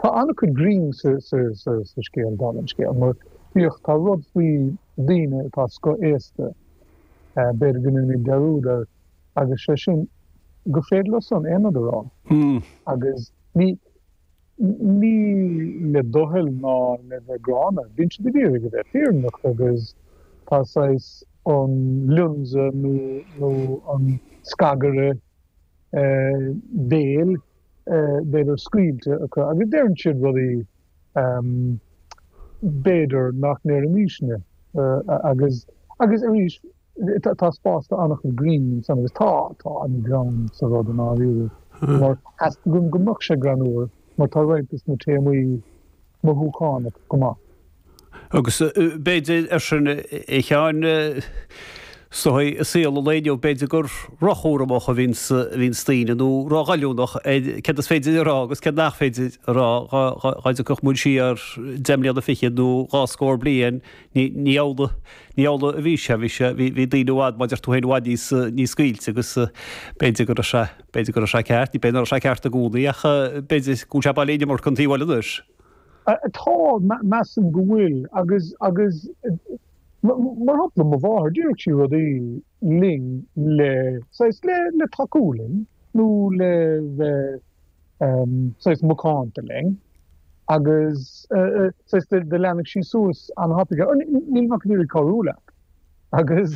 Tá an-chuid grinn sa scéal, dála an scéil, mar bíodh, tá rud faoi daoine atá scothaosta, b'fhéidir go ndéanaimid dearúd air, agus sé sin gur féidir leo san aon rud a rá. Agus ní, ní le doicheall ná le bheith gránna, bíonn siad ag iarraidh a bheith fírinneach agus tá saghas an lionsa nó, nó an scagaire béil, b'fhéidir, scaoilte acu agus deireann siad rudaí b'fhéidir nach ndéarfaimisne agus, agus arís, tá spás do an-chuid grinn ansan agus tá, tá an greann sa rud i ndáiríre mar theastaigh uaim go mbeadh sé greannmhar mar tá roinnt de na téamaí mothúchánach go maith. Agus b'fhéidir, ar sin, a Sheáin, is dóigh, i saol an lae inniu, b'fhéidir gur rochúramach a bhíonns daoine, nó róghoilliúnach ar céard is féidir a rá agus céard nach féidir a rá. Dá dtiocfadh muid siar deich mbliana fichead nó dhá scór bliain, ní amhlaidh, ní amhlaidh a bhí sé. Bhí sé, bhí daoine i bhfad, mar a deir tú féin, i bhfad níos, níos scaoilte agus b'fhéidir go raibh sé, b'fhéidir go raibh sé ceart, ní b'fhéidir nach raibh sé ceart i gcónaí ach b'fhéidir go bhfuil sé beagáinín iomarca an taobh eile anois. Tá, measaim go bhfuil, agus, agus, mar shampla, mo mháthair, déarfadh sí rudaí linn le, saghas, le, le tacú linn, nó le bheith, saghas, macánta linn, agus, saghas, do leanfadh sí suas an-thapaidh é, níl mé ach ag iarraidh cabhrú leat, agus,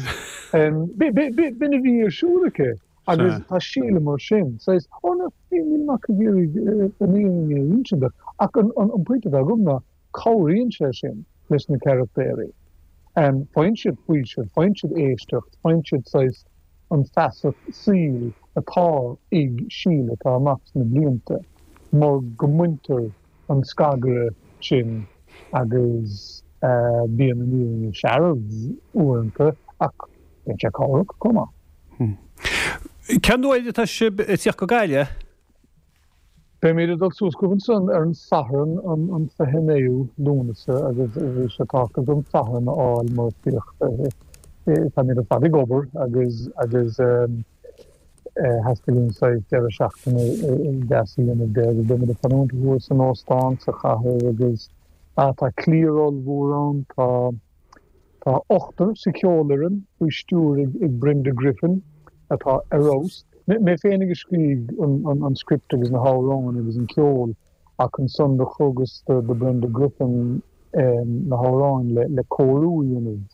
b'in a bhí ar siúl aici. Agus tá Síle mar sin. Saghas, oh no, níl mé ach ag iarraidh an fhírinne a insint duit. Ach an pointe atá agam ná, cabhraíonn sé sin leis na carachtaeirí. Faigheann siad faoiseamh, faigheann siad éisteacht, faigheann siad saghas an feasacht saoil atá ag Síle atá amach sna blianta, mar go mbaintear an scagaire sin agus bíonn an fhírinne searbh uaireanta ach bíonn sé cabhrach chomh maith. Cén uair atá sibh ag tíocht go Gaillimh? Beimid ag dul suas chugaibh ansan ar an Satharn an 29ú Lúnasa agus bhí sé tábhachtach dom Satharn a fháil mar féach táimid ar fad ag obair agus agus theastaigh uainn saghas deireadh seachtaine deas a dhéanamh de agus beimid ag fanúint thuas san óstán sa chathair agus tá cliar ollmhór ann, tá Tá ochtar sa cheolfhoireann faoi stiúir ag Brenda Griffin atá ar fheabhas. Mé féinig a scrígh an script agus na hamhráin agus an ceol ach ansan do thugas do Brenda Griffin na hamhráin le cóiriú a dhéanamh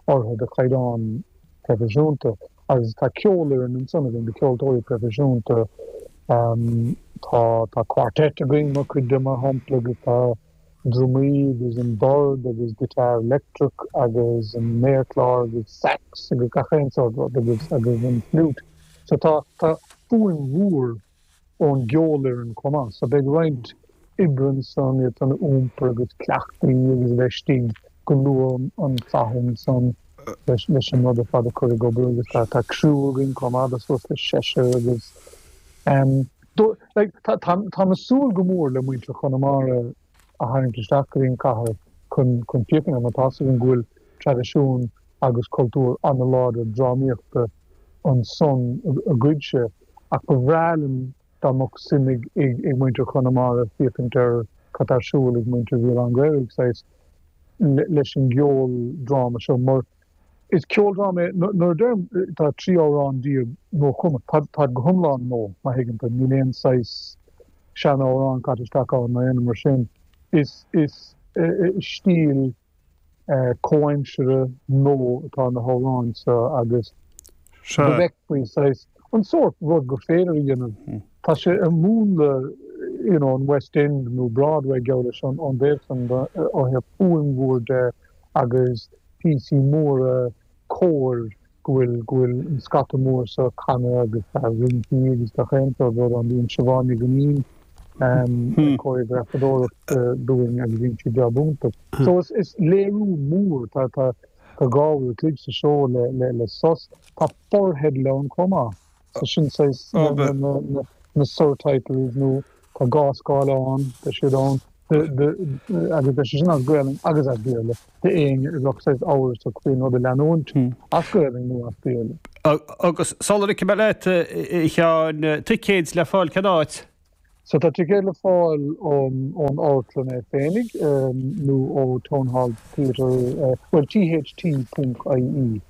orthu do chaighdeán proifisiúnta. Agus tá ceolfhoireann ansan againn de cheoltóirí proifisiúnta. Tá tá quartet againn mar chuid de mar shampla agus tá drumaí agus an dord agus guitar leictreach agus an méarchlár agus sax agus gach aon sórt rud agus agus an fliút. So tá tá fuaim mhór ón gceolfhoireann chomh maith. So beidh roinnt oibre ansan iad san a iompar agus cleachtaí agus a bheith istigh go luath an Satharn san leis leis an rud ar fad a chur ag obair agus tá tá criú againn chomh maith de suas le seisear agus ehm Like, tá, tá, táim ag súil go mór le muintir Chonamara a tharraingt isteach go dtí an chathair chun, chun féachaint air mar tá's againn go bhfuil traidisiún agus cultúr an-láidir drámaíochta ansan agaibhse ach ba bhreá liom dá mbeadh suim ag, ag, ag muintir Chonamara féachaint ar cad tá ar siúl ag muintir Bhéal Átha an Ghaorthaidh, saghas, leis an gceoldráma seo mar Is ceoldráma é, nuair a deirim tá 13 amhrán nuachumtha, táid go hiomlán nua, má thuigeann tú, níl aon saghas sean-amhrán caite isteach ann ná aon rud mar sin. Is is stíl comhaimseartha nua atá na hamhráin seo agus go bhfeicfí saghas an sórt rud gur féidir a dhéanamh. Tá sé ar mhúnla you know an West End nó Broadway geall leis ón dtaobh san ó thaobh fuaim mhór de agus píosaí móra cóir go bhfuil, go bhfuil an scata mór seo ag canadh agus tá rincí agus gach aon sórt rud ann. Bíonn Siobhán Ní Dhuinnín ag cóiréagrafadóireacht dúinn agus déanann sí jab iontach. So is, is léiriú mór, tá, tá, tá 2 uair a chloig sa seó le, le, le sos. Tá fortheidil ann chomh maith. So sin saghas na, na, na, na surtitles nó tá dhá scáileán, tá siad ann. agus beidh sé sin as Gaelainn agus as Béarla d'éinne a bheadh saghas amhrasach faoin rud a leanúint as Gaelainn nó as Béarla. Agus sula ligfidh mé leat, a Sheáin, ticéid le fáil cén áit? So tá ticéid le fáil ón ón amharclann é féinig nó ó Town Hall Theatre, bhuel tht ponc ie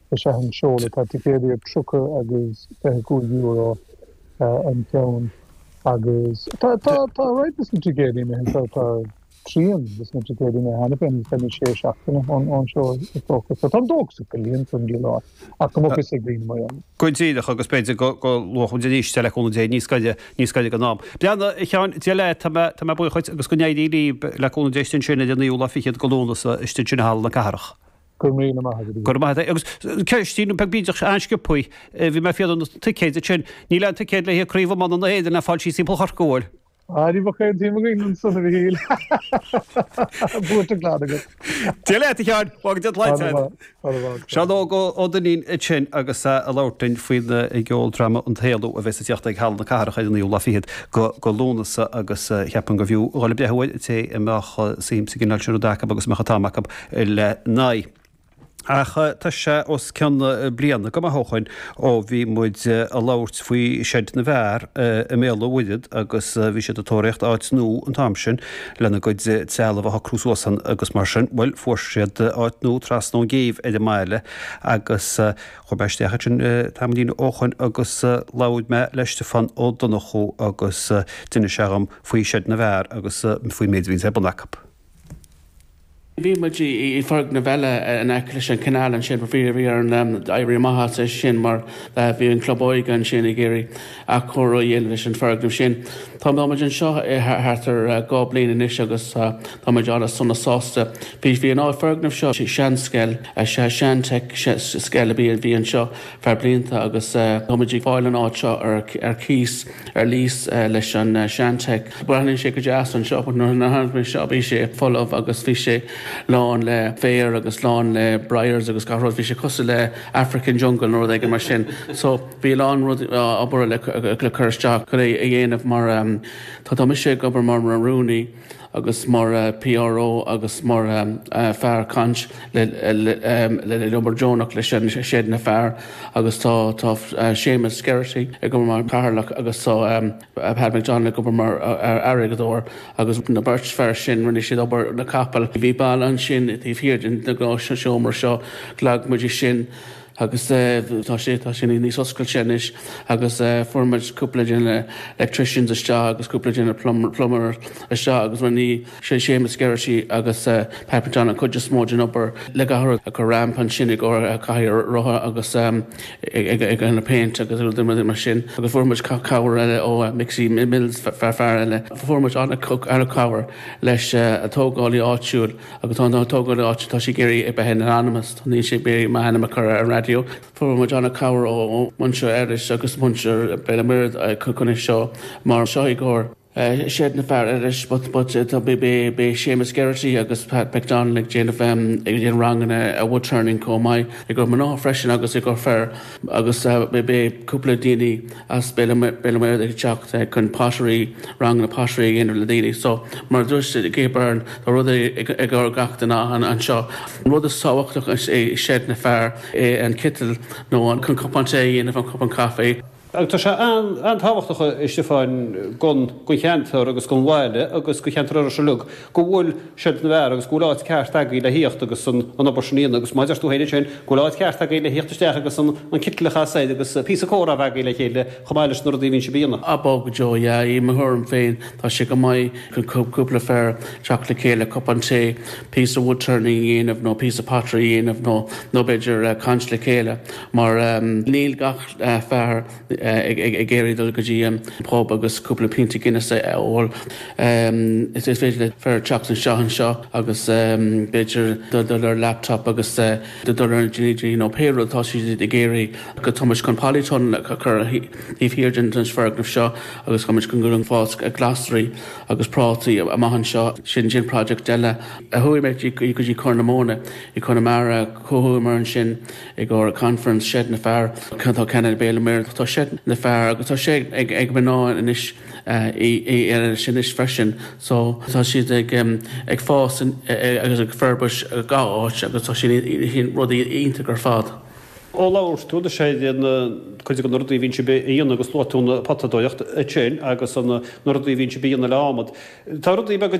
is ea an seoladh. Tá ticéadaí ar 30 agus €25 an ceann agus tá tá tá roinnt de na ticéadaí imithe, tá tá trian de na ticéadaí imithe cheana féin agus beimid sé seachtaine ón ón seó is dócha. So táim dóchasach go líonfar an díol áit ach go mbeadh fhios ag daoine mar gheall. Go díreach, agus b'fhéidir go go luafadh muid arís é le cúnamh Dé níos gaire, níos gaire don am. Breathnaigh, a Sheáin, Dia leat, tá mé, tá mé buíoch dhuit agus go n-éirí libh le cúnamh Dé istigh ansin ar an naoú lá fichead de Lúnasa istigh ansin i Halla na Cathrach. Go raibh míle maith agat. Go raibh maith agat. Agus ceistín beag bídeach an-sciobthaí, bhí mé ag fiafraí na ticéid ansin, níl aon ticéad le haghaidh Craobh Iomána na hÉireann le fáil síos timpeall Chorcaí, an bhfuil? Ah, ní bheadh aon tsuim againn ansan, a Mhichíl. Buaite glan agat. Dia leat, a Sheáin. Fág Dia tsláinte agat. Seán Óg Ó Duinnín ansin agus é ag labhairt linn faoin gceoldráma An tÉalú a bheas ag tíocht ag Halla na Cathrach ar an naoú lá fichead de Lúnasa agus cheapfainn gurbh fhiú dhul ag breathnú air, an té a mbeadh suim sa gcineál sin rud acu agus a mbeadh an t-am acu lena aghaidh. Ach tá sé os cionn bliana go maith ó shoin ó bhí muid ag labhairt faoi Seid na bhFear i mBéal an Mhuirthead agus bhí siad ag tóraíocht áit nua an t-am sin lena gcuid trealamh a shocrú suas ann agus mar sin. Bhuel, fuair siad áit nua trasna ón gcéibh ar an mbaile agus chuaigh mé isteach ansin tamaillín ó shoin agus labhair mé le Stiofán Ó Donnchú agus d'inis sé dhom faoi Seid na bhFear agus faoin méid a bhíonns ar bun acu. Bhí muid i bhfoirgneamh eile in aice leis an canal ansin but bhí bhí orainn éirí amach as é sin mar bhí an club óige ansin ag iarraidh athchóiriú a dhéanamh leis an foirgneamh sin. Tá muid anseo thart ar 2 bliain anois agus tá muid an-sona sásta. Bhí bhí an foirgneamh seo seanscoil, sean-teic scoil a bhí anseo feadh blianta agus tá muid ag fáil an áit seo ar cíos. ar lease leis an sean-teic. Breathnaíonn sé go deas anseo but nuair a tháinig mé anseo bhí sé folamh agus bhí sé lán le féar agus lán le briars agus gach rud. Bhí sé cosúil le African jungle nó rud éigin mar sin. So bhí a lán rud obair le cur isteach chun é a dhéanamh mar tá tá mise ag obair mar rúnaí agus mar PRO agus mar fear caint le le obair deonach leis an Seid na Fear agus tá tá Séamus Geraghty ag obair mar chathaoirleach agus tá Pat McDonald ag obair mar airgeadóir agus na beirt fear sin rinne siad obair na capall. Bhí balla ansin taobh thiar den seomra seo, leag muid é sin. Agus tá sé, tá sé níos oscailte anois agus fuair muid cúpla de na electricians isteach agus cúpla de na plumber isteach agus rinne sé Séamus Geraghty agus Pat McDonald an chuid is mó den obair le gach rud, ag cur ramp ansin i gcomhair cathaoir rotha agus ag an péint agus rudaí mar sin agus fuair muid cabhair eile ó Mixie Mills, fear eile. Fuair muid an-chabhair leis an tógálaí áitiúil. Agus tá an tógálaí áitiúil, tá sé ag iarraidh a bheith in anonymous, níl sé ag iarraidh m'ainm a chur ar an raidió. Fuair muid an-chabhair ó mhuintir Iorrais agus muintir Béal an Mhuirthead chun é seo mar seo i gcomhair Seid na bhFear Iorrais but but tá beidh Séamus Geraghty agus Pat McDonald ag déanamh ag déanamh ranganna wood turning chomh maith i gcomhair mná freisin agus i gcomhair fir agus beidh cúpla daoine as Béal an Mhuirthead ag teacht chun pottery, ranganna pottery a dhéanamh le daoine. So, mar a dúirt Gay Byrne, tá rud i gcomhair gach duine anseo. An rud is tábhachtach i Seid na Fear é an citeal nó an cupán tae a dhéanamh, an cupán caife. Agus tá sé an-tábhachtach, a Stiofáin, don cheantar agus don bhaile agus do cheantar Iorrais uilig go bhfuil Seid na bhFear agus go bhfuil áit ceart agaibh le thíocht agus an obair sin a dhéanamh agus mar a deir tú féin ansin go bhfuil áit ceart agaibh le thíocht isteach agus an citeal a chasadh air agus píosa comhrá a bheith agaibh le chéile chomh maith leis na rudaí a bhíonn sibh a dhéanamh. Ab ea go deo, yeah, i mo thuairim féin tá sé go maith chun cúpla fear teacht le chéile, cupán tae, píosa wood turning a dhéanamh nó píosa pottery a dhéanamh nó nó b'fhéidir caint le chéile mar níl gach fear ag iarraidh dul go dtí an pub agus cúpla pionta Guinness a ól. Is féidir le fear teacht isteach anseo agus b'fhéidir dul ar laptop agus dul ar an GG nó pé rud atá siad ag iarraidh. Tá muid chun polytunnel a chur taobh thiar den foirgneamh seo agus tá muid chun dul ag fás glasraí agus prátaí amach anseo. Sin sin project eile. Chuaigh mé go dtí Corr na Móna i Conamara, chuamar ansin. i gcomhair conference Seid na Fear. Tá ceann i Béal an Mhuirthead, tá Seid na Fear agus tá sé ag ag mná anois i anois anois freisin. So tá siad ag ag fás agus ag forbairt gach áit agus tá sin rudaí iontach ar fad. Ó labhair tú anois ar na cuid de na rudaí a bhíonn sibh a dhéanamh agus luaigh tú an potadóireacht ansin agus na rudaí a bhíonn sibh a dhéanamh le adhmad. Tá rudaí beaga.